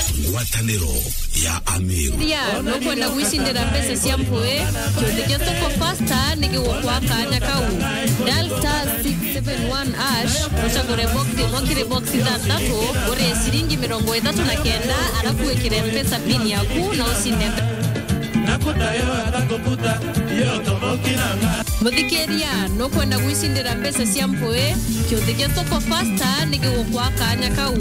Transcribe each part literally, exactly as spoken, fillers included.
Ngwataniro ya Ameru. Ria, nukwenda gwicindira mbeca cia mpui? Kiuthi gia Soko Fasta ni gigukwa kanya kau. Dial star six seven one hash, ucagure box imwe kiri box ithanthatu, urie ciringi mirongo ithatu na kenda, arafu wikire mpesa pin yaku na ucinde mbe- Muthikiria, nukwenda gwicindira mbeca cia mpui? Kiuthi gia Soko Fasta ni gigukwa kanya kau.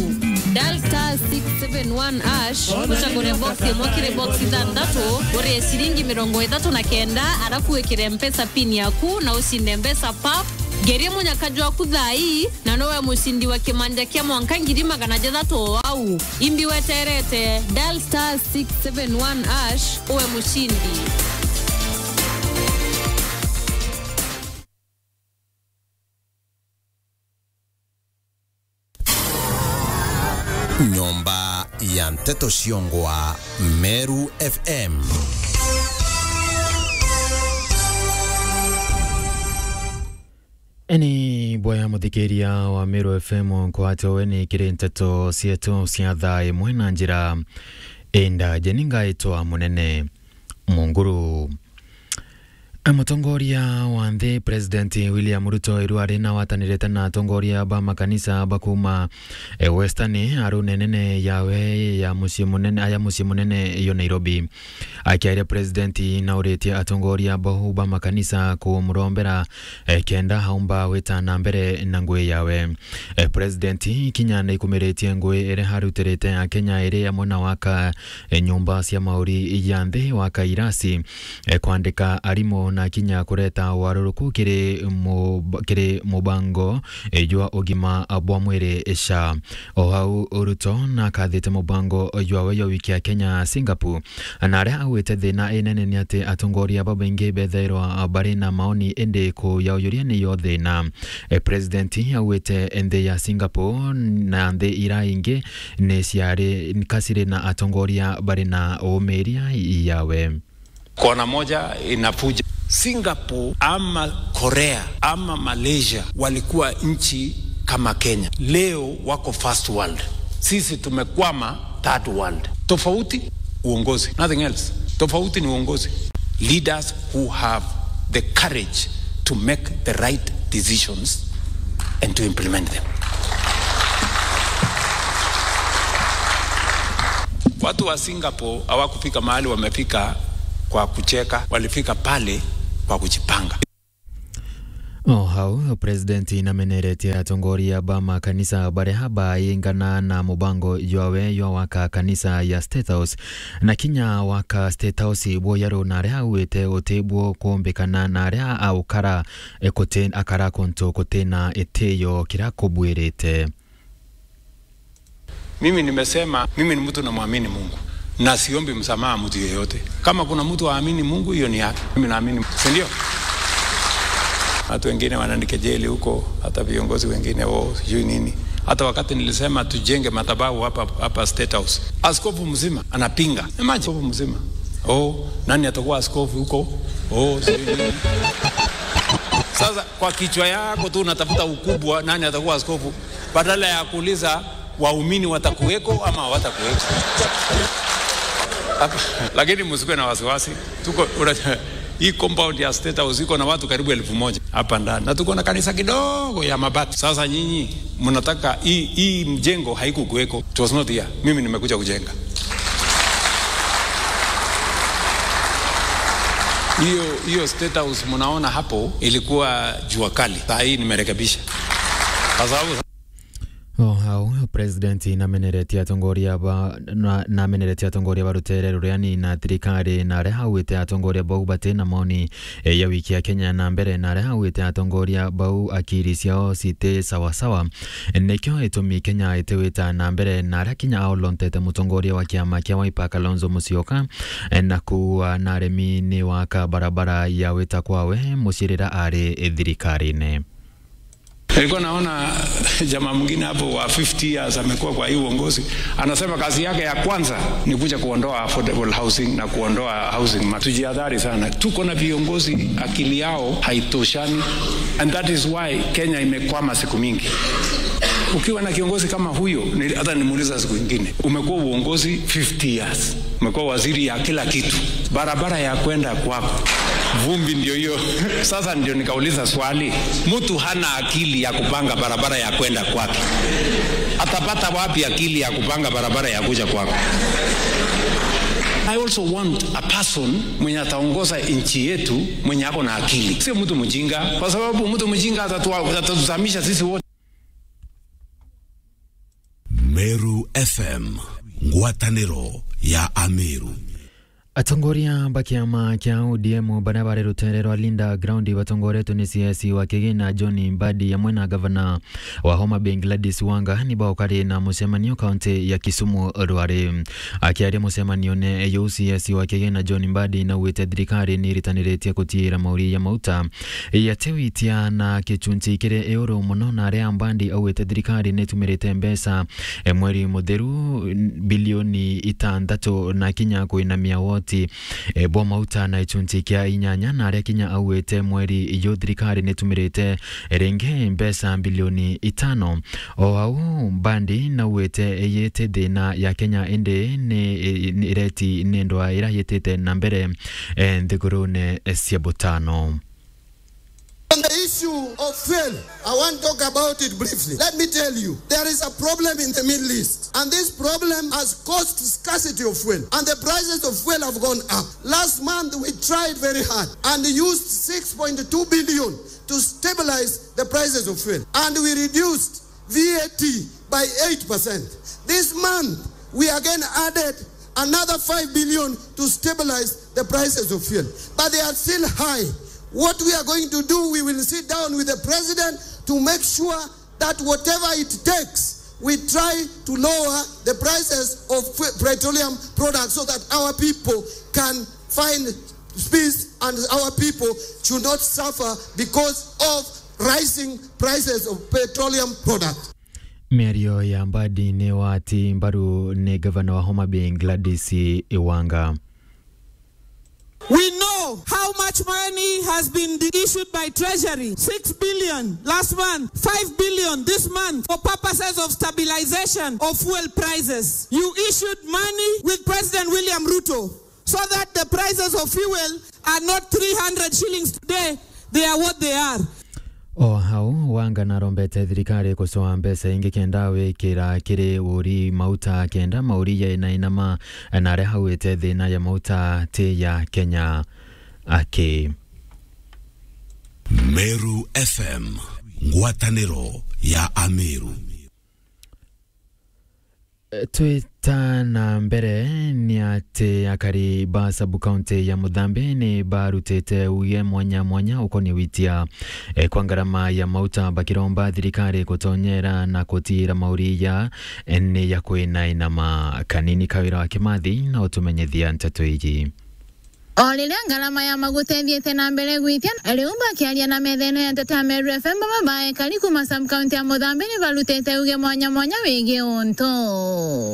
Dial star six seven one hash, ucagure box imwe kiri box ithanthatu, urie ciringi mirongo ithatu na kenda, arafu wikire mpesa pin yaku na ucinde mbeca pap. Ngeria munyaka jwaku thaa ii, na nowe mucindi wa kimanja kia mwanka ngiri magana jathatu o au. Imbi weterete, dial star six seven one hash, uwe mucindi. Nyomba ya Nteto Ciongwa, Meru F M. Eni bwaya muthikiria wa Meru F M, nkwate weni kiri nteto cietu cia thaa imwe na njira indaje. Ni ngaitwa Munene Munguru. Mutongoria wa nthi President William Ruto iru ari na watanirite na atongoria ba makanisa ba kuma, eh, Western, arune nene yawe ya mucii munene, aya mucii munene yo Nairobi. Akiaria President nauritie atongoria bau ba makanisa kumurombera, eh, kenda aumba gwita na mbere na ngui yawe. Eh, President kinya naikumiritie ngui iria arutirite Akenya iri amwe na waka, eh, nyumba cia mauri ya nthi, waka irasi, eh, kwandika arimu na kinya kureta waruruku kiri mu-, kiri mubango, eh, jwa ugima bwa mwiri, SHA. O hau Ruto nakathite mubango jwawe jwa wiki ya Kenya Singapore, na aria augite thina inene ni ati atongoria babaingi bethairwa bari na maoni, indi kuyauyuria niyo thina. E, President augite nthi ya Singapore na nthi ira ingi ni ciari, ka ciri na atongoria bari na uumiria yawe. Kona moja inafuja. Singapore ama Korea ama Malaysia walikuwa nchi kama Kenya. Leo wako first world. Sisi tumekwama third world. Tofauti uongozi. Nothing else. Tofauti ni uongozi. Leaders who have the courage to make the right decisions and to implement them. Watu wa Singapore hawakufika mahali wamefika kwa kucheka, walifika pale kwa kujipanga. O hau, President nameneretie atongoria ba makanisa baria baingana na mubango jwawe jwa waka kanisa ya State House, na kinya waka State House bwoyaru, na aria augite uti bwo kumbikana na aria aukara, e, kuti-, akara kuntu kutina itiyo kiria kubwirite. Mimi nimesema, mimi ni mtu namwamini Mungu na siombi msamaha mtu yeyote. Kama kuna mtu aamini Mungu, hiyo ni yake. Mimi naamini, si ndio? Watu wengine wananikejeli huko, hata viongozi wengine, "Oh, sijui nini." Hata wakati nilisema tujenge madhabahu hapa, hapa State House, askofu mzima anapinga. Imagine, askofu mzima. "Oh, nani atakuwa askofu huko? Oh, sijui nini." Sasa kwa kichwa yako tu unatafuta ukubwa, nani atakuwa askofu? Badala ya kuuliza waumini watakuweko ama hawatakuweko. Lakini msikuwe na wasiwasi. Tuko, una-, hii compound ya State House iko na watu karibu elfu moja hapa ndani. Na tuko na kanisa kidogo ya mabati. Sasa nyinyi mnataka hii, hii mjengo haikukuweko. It was not here. Mimi nimekuja kujenga. Hiyo, hiyo State House mnaona hapo ilikuwa jua kali. Saa hii nimerekebisha. Kwa sababu O hau, President nameneretie atongoria ba, na, nameneretie atongoria ba rutere ruria ni na thirikari, na aria augite atongoria bau bati na maoni, e, ya wiki ya Kenya na mbere, na aria augite atongoria bau akiri ciao citi sawa sawa. Nikio itumi Kenya itiwita na mbere, na aria kinya aolontete mutongoria wa kiama kia Wiper Kalonzo Musyoka, e, na kuua na aremi ni waka barabara ya wita kwawe mucirira ari thirikarine. Nilikuwa naona jamaa mwingine hapo wa fifty years amekuwa kwa hii uongozi, anasema kazi yake ya kwanza ni kuja kuondoa affordable housing na kuondoa housing ma-, tujihadhari sana. Tuko na viongozi akili yao haitoshani, and that is why Kenya imekwama siku mingi. Ukiwa na kiongozi kama huyo, ni-, hata nimuuliza siku ingine, umekuwa uongozi fifty years, umekuwa waziri ya kila kitu, barabara ya kwenda kwako, vumbi ndio hiyo. Sasa ndio nikauliza swali, mtu hana akili ya kupanga barabara ya kwenda kwake, atapata wapi akili ya kupanga barabara ya kuja kwako? I also want a person mwenye ataongoza nchi yetu mwenye ako na akili, sio mtu mjinga, kwa sababu mtu mjinga atatua-, atatuzamisha sisi wote. Meru F M, ngwatanĩro ya Ameru. Atongoria ba kiama kia O D M baria bari rutere rwa Linda Ground batongoretwe ni C S wa Kigina John Mbadi amwe na gavana wa Homa Bay Gladys Wanga ni baukari na mucemanio kaunti ya Kisumu rwari. Akiaria mucemanione yuu, C S wa Kigina John Mbadi naugite thirikari ni iritaniritie gutiira mauri ya mauta yatiwitia na gicunci kiri iuru mono, na aria Mbadi augite thirikari ni itumirite mbeca, e, mweri mutheru, bilioni itantatu na kinya kwinamia woti, e, bwa mauta na gicunci kia inyanya, na aria kinya augite mweri yu thirikari ni itumirite, e, ringi mbeca bilioni itano. O au Mbadi naugite iyiti thina ya Kenya indi ni, ni ireti ni ndwaa ira yitite na mbere, e, nthigurune cia butano. On the issue of fuel, I want to talk about it briefly. Let me tell you, there is a problem in the Middle East, and this problem has caused scarcity of fuel, and the prices of fuel have gone up. Last month, we tried very hard and used six point two billion to stabilize the prices of fuel, and we reduced V A T by eight percent. This month, we again added another five billion to stabilize the prices of fuel. But they are still high. What we are going to do, we will sit down with the president to make sure that whatever it takes, we try to lower the prices of fu-, petroleum products so that our people can find peace and our people should not suffer because of rising prices of petroleum products. Miario ya Mbadi ni wati mbaru ni gavana wa Homa Bay Gladys Wanga. We know how much money has been issued by Treasury, six billion last month, five billion this month, for purposes of stabilization of fuel prices. You issued money with President William Ruto so that the prices of fuel are not three hundred shillings today, they are what they are. O hau, Wanga narombete thirikari gucoa mbeca ingi kenda wikira kiri uri mauta kenda mauri ya inainama, na aria haugite thina ya mauta ti ya Kenya aki. Meru F M, ngwataniro ya Ameru. Twita na mbere ni ati akari ba sub-county ya Muthambi ni barutite uge mwanya mwanya ukonie witia, eh, kwa ngarama ya mauta, bakiromba thirikari gutonyera na gutiira mauri ya, eh, ni ya kwinainama. Kanini Kawira wa Kimathi na utumenyithia nteto iji. O riria ngarama ya maguta ithiite na mbere gwitia, riu bakiaria na metha ino ya nteto ya Meru F M, baba ba ekari kuuma sub-county ya Muthambi ni barutite uge mwanya mwanya wigii untu.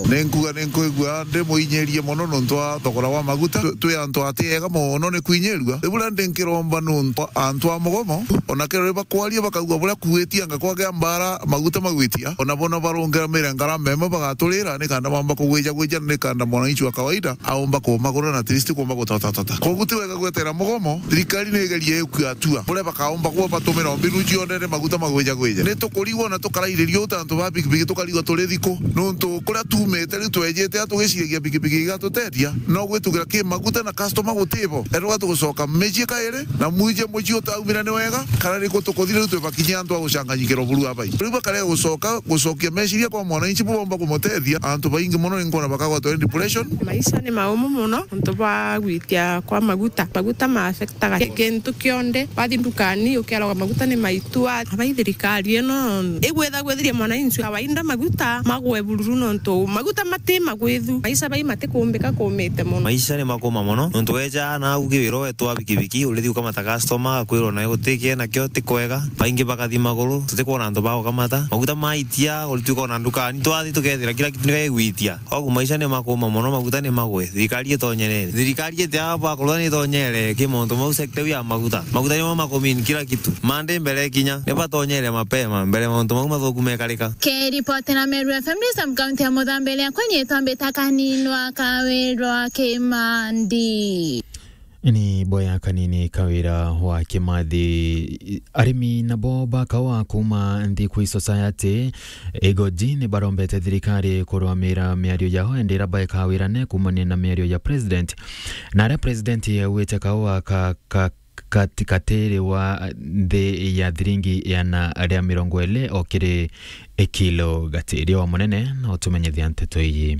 Ni nkuga ni nkwigua ndi muinyirie mono nontu wa thogora wa maguta. Twi, twi antu ati ega mono ni kwinyirua. Riu buria ndi nkiromba nontu antu a mugomo, ona kero riria bakwaria bakaigua buria kuitia anga kwagea mbara maguta magwitia, ona bo na barungiramire ngarama imwe bagaturira, ni kenda bamba kugwija gwija, ni kenda mwananchi wa kawaida aumba kumagura na at least kumba gutotatota. Koguo ti wega gwetera mugomo, thirikari ni igerie ikue atua buria bakaumba kuba batumira mbinu cionthe ni maguta magwija gwija. Ni tukurigwa na tukarairiria uta antu ba pikipiki tukarigwa turi thiku, nontu kuria tuumite riu twejite a tugiciragia pikipiki igatuteethia, no gwitugira ki maguta na customer gutibo. Eruga tugucoka micii kairi na mwije mucii utaumira ni wega, kana ni ku tukuthire riu twi bakinyia antu a gucanganyikirwa buru abai. Riu bakare gucoka gucokia meciria kwa mwananchi bubomba kumutethia. Antu baingi mono ni nkwona bakagwatwa ni depression. Maisha ni maumu mono nontu bwa gwitia kwa maguta. Maguta ma affectaga ki-, kintu kionthe. Wathi ndukani ukiaragwa maguta ni maitua. Abai thirikari ino igwitha gwithirie mwananchi kawaida maguta magwe bururu nontu maguta mati magwithu. Maisha bai matikumbika kumite mono. Maisha ni makuma mono nontu weja na au kiwiro wetwa pikipiki, urithi ukamata customer, akwirwo nawe gutikie nakio ti kwega. Baingi bakathi maguru, tutikwona antu ba gukamata. Maguta maitia, urituika ona ndukani, twathi tukethira kila kitu ni gigwitia. Koguo maisha ni makuma mono, maguta ni magwe. Thirikari itonyerere. Thirikari iti aba Akorwa ni tonyere ki mauntu mau sector ya maguta. Maguta nimo makumin kila kitu. Mande mbere kinya. Ni batonyere mapema mbere mauntu mau mathuku mekarika. Kiripotera Meru F M ni sub county ya Muthambe iria kwenye twambita Kaninwa Kawirwa Kimandi. Ni boya Kanini Kawira wa Kimathi. Arimi nabo ba kaua kuuma Nthikui Society Igoji ni barombete thirikari kurwamira miario yao endera baeka wirane kuumania na miario ya president. Na aria president augite kaua ka, ka, kati, katiri wa nthi ya thiringi iana ria mirongo iri o kiri kilo. Gatiria wa munene na utumenyithia nteto iji.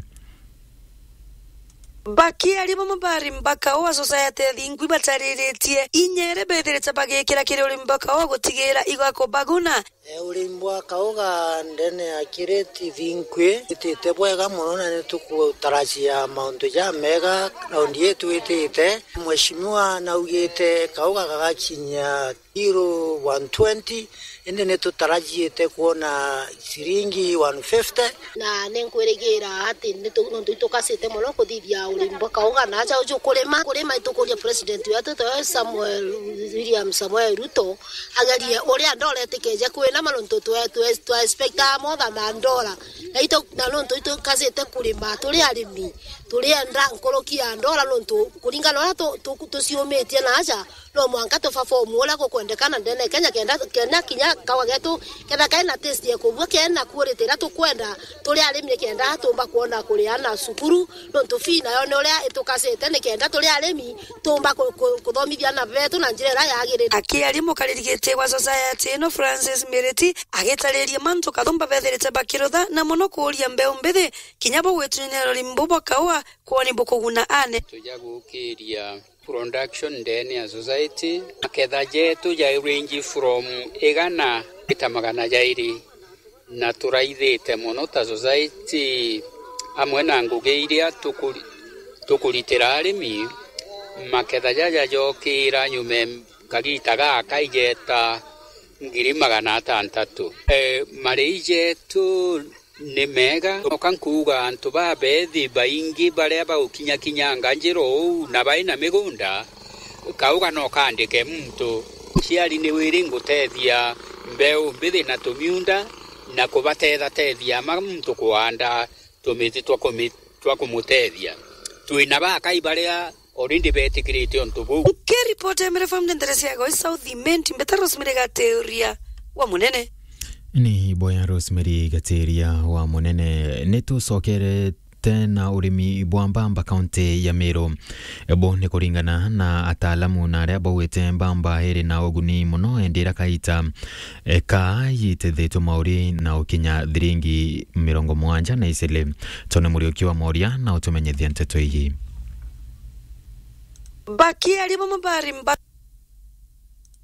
Bakiaria bamwe ba arimi ba kaua Society ya Thingwi batariritie inya iria bethirite bagikira kiri urimi ba kaua gutigira igakubaguna. E, urimi bwa kauga ndene ya Kireti Thinkwi itite bwega mono, na ni tukutarajia mauntu jamega raundi ii twitite. Mheshimiwa naugite kauga gagakinyia kilo one twenty, indi ni tutarajiite kwona ciringi one fifty. Na ni nkwirigira ati ni tu-, nontu itukacite mono kuthithia urimi bwa kauga na aja uju kurima. Kurima itukuria president wetu tawe Samuel, William Samuel Ruto, agerie uria ndora itikeje kwinama nontu twe-, twe-, twa expectaa motha ma ndora. Na itu-, na nontu itukacite kurima, turi arimi, turienda nkuruki ya ndora nontu kuringana uria tu-, tu-, tuciumitie na aja, no mwanka tuperform uria gukwendekana ndene Kenya kenda, kenda kinya kauga getu ketha kena taste ya kubua, kena quality iria tukwenda, turi arimi ni kenda tumba kwona kuri ana cukuru, nontu fee nayo ni uria itukacite ni kenda turi arimi tumba ku-, ku-, kuthomithia ana betu na njira iria yagirite. Akiaria mukariri giti wa society ino Francis Miriti agitariria mantu kathumba bethirite bakirutha na mono kuuria mbeu mbithi kinya bo gwitunyanira urimi bu bwa kaua kwoni bukuguna ane. Tuja gukiria production ndene ya society. Maketha jetu ja range from igana gita magana jairi, na turaithite mono ta society amwe na ngugi iria tukuri-, tukuritira arimi. Maketha jaja jokira nyume kagita gaka ijeta ngiri magana atantatu. E, marei jetu ni mega. Noka nkuuga antu babethi baingi baria bagukinyakinyanga njira uu na bai na migunda, kauga no kaandike muntu. Ciari ni wiri ngutethia mbeu mbithi na tumiunda na kubatethatethia ma muntu kuanda tumiti twa kumi-, twa kumutethia. Twina bakai baria already betikirite untu buu. Nkiripota Emere Farm ndetere cia Goi South Imenti, mbeta Rosemary Gateuria wa Munene. Ni boya Rosemary Gateuria wa Munene. Ni tucokerete na urimi bwa mbamba kaunti ya Meru. Bo ni kuringana na ataalamu na aria baugite mbamba iri na uguni mono, endi ira kaita, e, ka yitithitwe mauri na ukinya thiringi mirongo mugwanja na iciri. Tony Muriuki wa Moria na utumenyithia nteto iji. Bakiaria bamwe bari mba-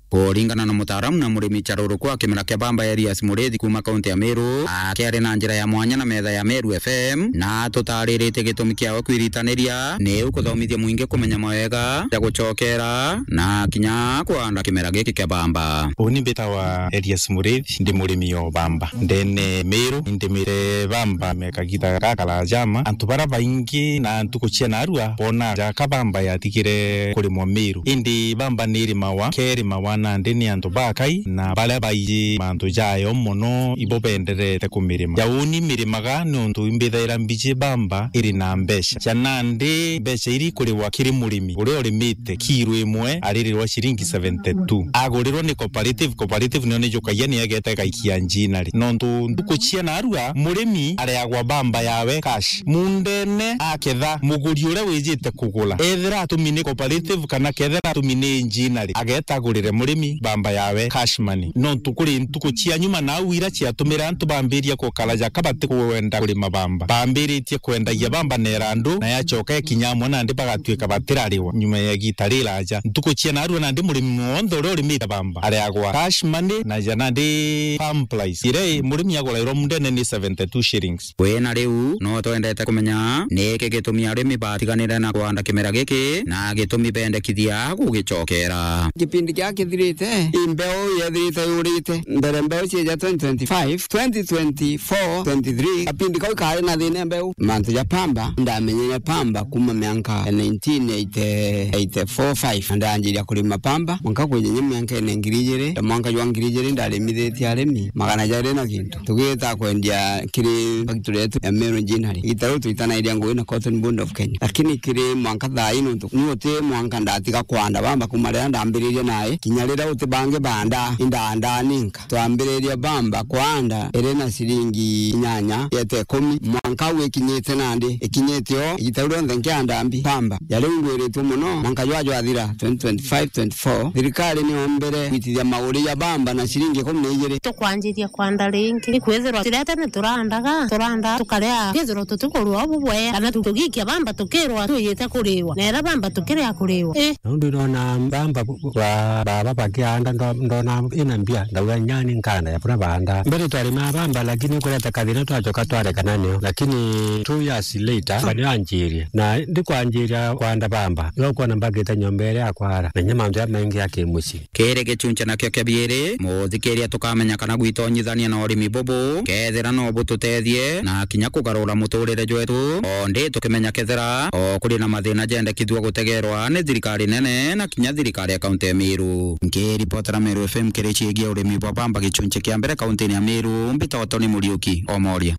Kuringana na mutaaramu na murimi charurukwa kimera kia bamba Elias Murithi kuuma kaunti ya Meru, akiaria na njira ya mwanya na metha ya Meru F M, na atutariritie gitumi kiawe kwiritaniria, niu kuthomithia mwingi kumenya mawega ja gucokera na kinya kuanda kimera giki kia bamba. Uni mbitawa Elias Murithi, ndi murimi o bamba ndene Meru. Indimire bamba me kagita gakara jama. Antu bara baingi na ntuku cia narua bona jaka bamba yatigire kurimwa Meru. Indi bamba ni irimawa, kerimawa nandi ni antu bakai na baria baiji mantu jayo mono ibo benderete kumirima. Ja uni mirimaga nontu imbithaira mbiji bamba iri na mbeca. Ja nandi mbeca iri kuriwa kiri murimi uria urimite kiro imwe aririrwa ciringi seventy two. Agurirwa ni cooperative, cooperative nio nijukagia ni egete gaikia njinari. Nontu ntuku cia narua, murimi areagwa bamba yawe cash. Mundene aketha, muguri uria wijite kugura, ethira atumi ni cooperative kana kethira atumi ni njinari, ageta agurire murimi bamba yawe cash money. Nontu kuri ntuku cia nyuma nau ira ciatumire antu bambiria gukara jaka batikwenda kurima bamba. Bambiritie kwendagia bamba na irandu, na yacoka ikinya amwe nandi bagatuika batirariwa nyuma ya igita riraja. Ntuku cia narua nandi murimi wonthe uria urimite bamba areagwa cash money na ja nandi farm price. Iria murimi agurairwa mundene ni seventy two shillings. Wina riu, no twendete kumenya niki gitumi arimi batiganire na kuanda kimera giki na gitumi bendekithia gugicokera. Kipindi gia kithi- Rite, i mbeu yethirite yurite. Mbere mbeu cieja twenty twenty-five, twenty twenty-four, twenty-three, kapindi kau kari na thina mbeu. Mantu ja pamba, ndamenyere pamba kuma mianka nineteen eighty-four five, na ndanjiria kurima pamba, mwanka kwinya mianka ene ngiri ijiri, na mwanka jwa ngiri ijiri ndarimithitie arimi magana jairi na gintu. Tugita kwendia kiri factory yetu ya Meru Ginnery. Igita riu twitanairia ngugi na Cotton Board of Kenya. Lakini kiri mwanka thaa ii nuntu ni uti mwanka ndatiga kwanda bamba kuma riria ndambiririe nai. Kinya riria uti bangi banda, indandaa ninka. Twambiririe bamba kwanda iri na ciringi inyanya yete ikumi. Mwanka au ikinyite nandi, ikinyite o, igita riu rionthe nkianda mbi bamba. Ya riu ngwiritue mono, mwanka jwa jwathira twenty twenty-five twenty-four, thirikari niombere gwitithia maguri ja bamba na ciringi ikumi na ijiri. Tukwanjiria kwanda ringi, ikwithirwa turia tene turandaga, turanda tukaria, kwithirwa tutikurua bubwe, kana tu-, tugikia bamba tukirwa tuyite kuriwa, na ira bamba tukiria kuriwa. Ii. Nondu nona bamba bu-, bu-, ba-, baba bakianda ndo-, ndona ina mbia, ndauga nyani nkanda ya bura banda. Mbere twarimaa bamba, lakini kureta kathina twacoka twarekana nio. Lakini two years later, bamba nio anjirie. Na ndikwanjiria kwanda bamba, iga ukwona mbakite nyomba iria ya kwara, na inya mantu jaria maingi ya kimucii. Kiri gichunchi nakio kia biiri, muthikiria tukamenya kana gwitonyithania na urimi bubu, kethira no bututethie na kinya kugarura muturire jwetu, o ndi tukimenya kethira o kuri na mathina jendekithua gutegerwa ni thirikari nene na kinya thirikari ya kaunti ya Meru. Nkiripotera Meru F M kiri ciegie urimi bwa bamba gichunchi kia mbere kauntini ya Meru, mbitagwa Tony Muriuki o Moria.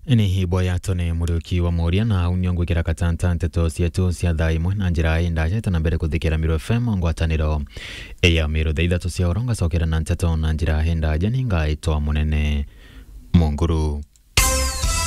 Ni ibo ya Tony Muriuki wa Moria, na au nio ngwikira katanta nteto cietu cia thaa imwe na njira indaja. Ita na mbere kuthikira Meru F M ngwataniro ya Meru. Thaa ithatu cia oro ngacokera na nteto na njira indaja, ni ngaitwa Munene Munguru.